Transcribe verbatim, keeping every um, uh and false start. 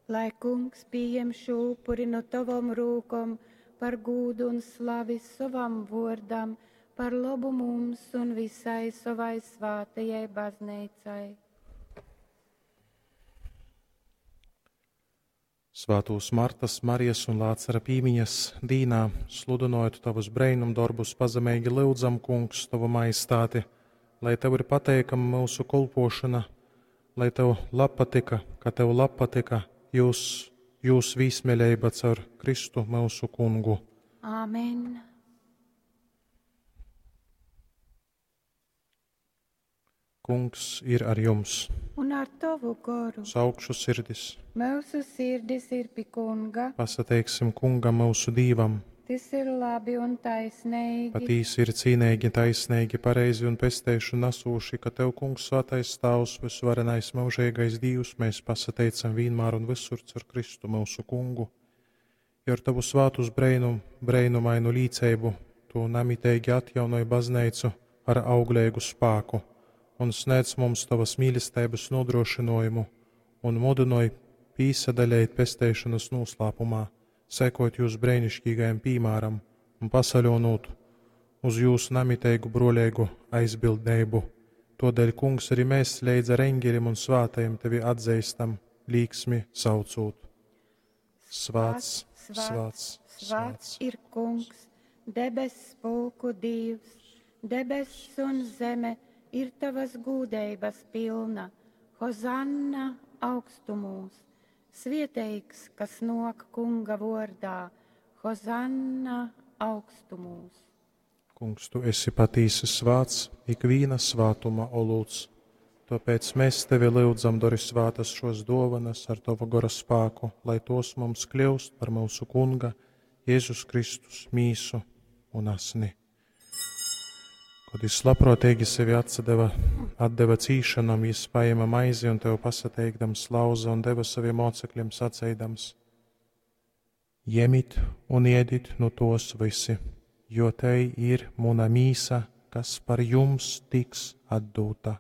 Lai Kungs pījem šū upuri nu tovom rūkom par gūdu un slavi sovam vōrdam, par lobu mums un visai sovai svātajai bazneicai. Svātūs Martas, Marijas un Lācara pīmiņas dīnā, sludynojot tovus breinumdorbus, pazemeigi lyudzam, Kungs, tovu majestāti, lai tev ir pateikama myusu kolpošana, lai tev labpatika, ka tev labpatika jūs, jūs vīsmeļeiba caur Kristu myusu Kungu. Āmen. Kungs ir ar jums. Un ar tovu goru. Saukšu sirdis. Mūsu sirdis ir pi Kunga. Pasateiksim Kungam myusu Dīvam. Tas ir labi un taisnīgi. Patīsi ir cīnīgi, taisnīgi, pareizi un pesteišu nasūši, ka Tev, Kungs, svētais Tāvs, visvarenais mūžīgais Dievs, mēs pasateicam vienmēr un visur caur Kristu mūsu Kungu. Jo ar Tavu svātus breinum, breinumainu līceibu Tu namitīgi atjaunoj baznīcu ar auglīgu spāku un sniedz mums Tavas mīlestības nodrošinājumu un mudinoj pīsadaļēt pesteišanas noslēpumā, sekot jūs brēnišķīgajam pīmāram un pasaļonot uz jūsu namiteigu broļīgu aizbildnību. Todēļ, Kungs, arī mēs leidz ar eņģeļiem un svātajiem tevi atzīstam, līksmi saucot. Svāts, svāts, svāts ir Kungs, debess pulku Dievs, debess un zeme ir tavas gūdeibas pilna. Hozanna augstumūs, svieteigs, kas nok Kunga vordā, Hozanna augstumūs. Kungs, tu esi patīsi svāts, ikvīna svātuma olūts. Tāpēc mēs tevi lūdzam, dori svātas šos dovanas ar tavu gora spāku, lai tos mums kļūst par mūsu Kunga, Jēzus Kristus mīsu un asni. Kad jis labprātīgi sevi atsadeva, atdeva cīšanam, jis paēma maizi un tev pasateikdams lauza un deva saviem mocekļiem saceidams: Jemit un iedit nu tos visi, jo te ir muna mīsa, kas par jums tiks atdūta.